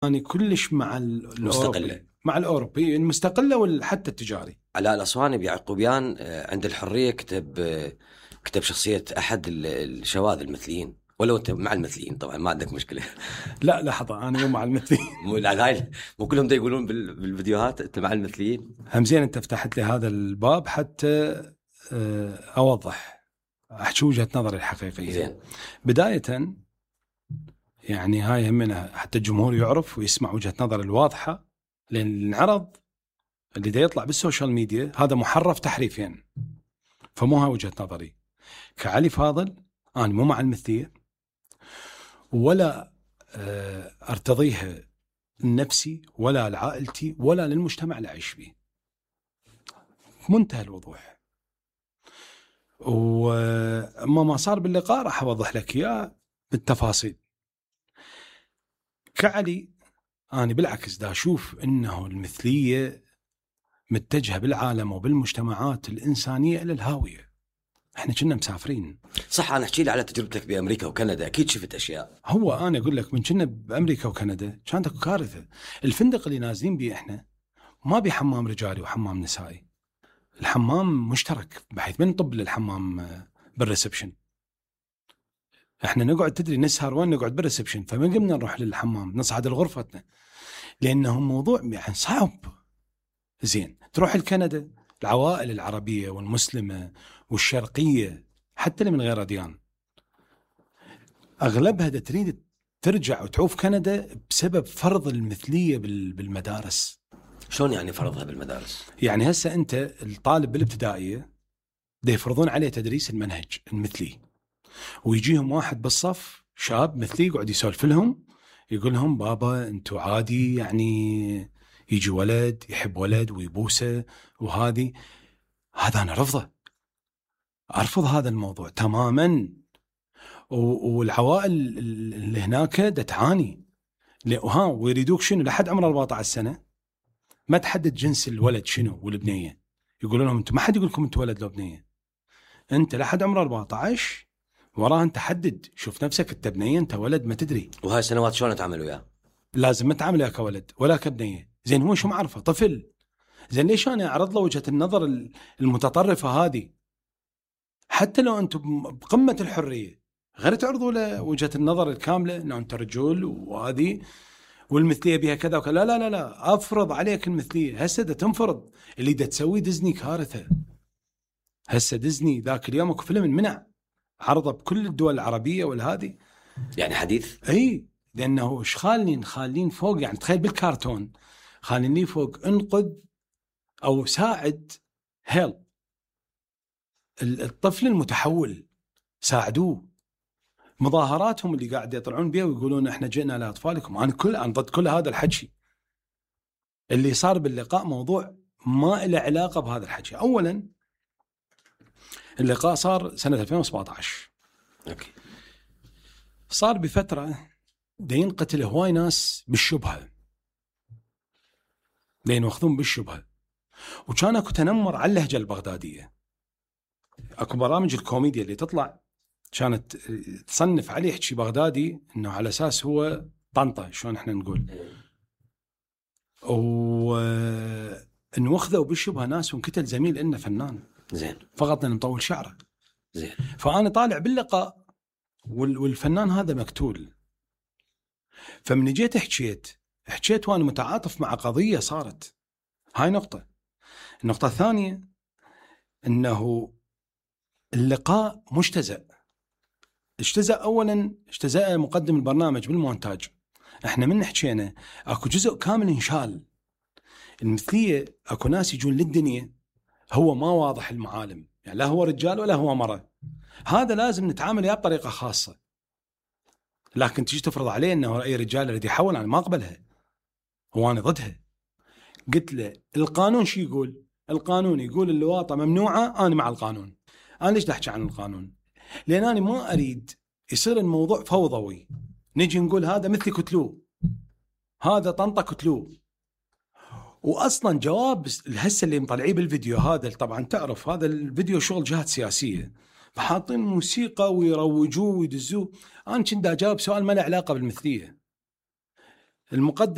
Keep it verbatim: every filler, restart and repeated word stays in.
أنا كلش مع ال- مستقلة. الأوروبي، مع الأوروبي المستقلة وحتى التجاري. علاء الأصواني بيعقوبيان عند الحرية كتب كتب شخصية أحد الشواذ المثليين، ولو أنت مع المثليين طبعا ما عندك مشكلة. لا لحظة، أنا مو مع المثليين. مو لا هاي مو كلهم دا يقولون بال- بالفيديوهات أنت مع المثليين. همزين أنت فتحت لي هذا الباب حتى آه، أوضح أحكي وجهة نظري الحقيقية. زين. بداية يعني هاي همنا حتى الجمهور يعرف ويسمع وجهة نظر الواضحة، لأن العرض اللي دا يطلع بالسوشيال ميديا هذا محرف تحريفين، فمو هاي وجهة نظري. كعلي فاضل أنا مو مع المثلية ولا آه، أرتضيها لنفسي ولا لعائلتي ولا للمجتمع اللي أعيش فيه، منتهى الوضوح. وما ما صار باللقاء راح أوضح لك إياه بالتفاصيل. كعلي أنا بالعكس دا أشوف إنه المثلية متجهة بالعالم وبالمجتمعات الإنسانية إلى الهاوية. إحنا كنا مسافرين. صح. أنا أحكي لي على تجربتك بأمريكا وكندا، أكيد شفت أشياء. هو أنا أقول لك من كنا بأمريكا وكندا كانت أكو كارثة. الفندق اللي نازلين بيه إحنا ما بيه حمام رجالي وحمام نسائي، الحمام مشترك، بحيث من طب للحمام بالريسبشن. احنا نقعد تدري نسهر وين؟ نقعد بالريسبشن، فما قمنا نروح للحمام نصعد لغرفتنا لانه موضوع يعني صعب. زين تروح لكندا، العوائل العربيه والمسلمه والشرقيه حتى اللي من غير اديان اغلبها دا تريد ترجع وتعوف كندا بسبب فرض المثليه بالمدارس. شلون يعني فرضها بالمدارس؟ يعني هسه انت الطالب بالابتدائيه دا يفرضون عليه تدريس المنهج المثلي، ويجيهم واحد بالصف شاب مثلي يقعد يسولف لهم، يقول لهم بابا انتو عادي يعني يجي ولد يحب ولد ويبوسه وهذه. هذا انا رفضه، ارفض هذا الموضوع تماما. والعوائل اللي هناك دا تعاني وها ويريدوك شنو لحد عمر أربعة عشر سنه ما تحدد جنس الولد شنو والبنيه، يقولون لهم انتم ما حد يقول لكم انت ولد لو بنيه، انت لحد عمر أربعة عشر وراه انت حدد، شوف نفسك انت بنيه انت ولد ما تدري. وهاي السنوات شلون تعملوا وياه؟ لازم ما تعامله كولد ولا كبنيه. زين هو شو معرفه طفل، زين ليش انا اعرض له وجهه النظر المتطرفه هذه؟ حتى لو انتم بقمه الحريه غير تعرضوا له وجهه النظر الكامله انه انت رجل وهذه والمثليه بها كذا وكذا. لا لا لا لا افرض عليك المثليه. هسه دا تنفرض اللي دا تسوي ديزني كارثه. هسه ديزني ذاك اليوم اكو فيلم منع عرضه بكل الدول العربيه والهذه يعني حديث. اي لانه ايش خالين خالين فوق، يعني تخيل بالكرتون خاليني فوق انقذ او ساعد هيل الطفل المتحول، ساعدوه. مظاهراتهم اللي قاعد يطلعون بها ويقولون احنا جئنا لاطفالكم، انا كل انا ضد كل هذا الحكي. اللي صار باللقاء موضوع ما له علاقه بهذا الحكي. اولا اللقاء صار سنه ألفين وسبعة عشر. اوكي. صار بفتره دا ينقتل هواي ناس بالشبهه، دا ينوخذون بالشبهه، وكان اكو تنمر على اللهجه البغداديه. اكو برامج الكوميديا اللي تطلع كانت تصنف عليه يحكي بغدادي انه على اساس هو طنطا شلون احنا نقول، ونوخذوا بالشبهه ناس وانقتل زميل إنه فنان زين فقط لأنه مطول شعره. زين. فانا طالع باللقاء والفنان هذا مقتول. فمن جيت حكيت حكيت وانا متعاطف مع قضيه صارت. هاي نقطه. النقطه الثانيه انه اللقاء مجتزأ. اجتزأ اولا اجتزأ مقدم البرنامج بالمونتاج. احنا من حكينا اكو جزء كامل انشال. المثليه اكو ناس يجون للدنيا هو ما واضح المعالم، يعني لا هو رجال ولا هو مرأة. هذا لازم نتعامل وياه بطريقه خاصه. لكن تيجي تفرض عليه انه اي رجال الذي يحول، انا ما اقبلها، هو انا ضدها. قلت له القانون شو يقول؟ القانون يقول اللواطه ممنوعه، انا مع القانون. انا ليش احكي عن القانون؟ لان انا ما اريد يصير الموضوع فوضوي، نجي نقول هذا مثلي كتلوه، هذا طنطا كتلوه. واصلا جواب الهسه اللي مطلعيه بالفيديو هذا، طبعا تعرف هذا الفيديو شغل جهات سياسيه، فحاطين موسيقى ويروجوه ويدزوه. انا كنت اجاوب سؤال ما له علاقه بالمثليه. المقدم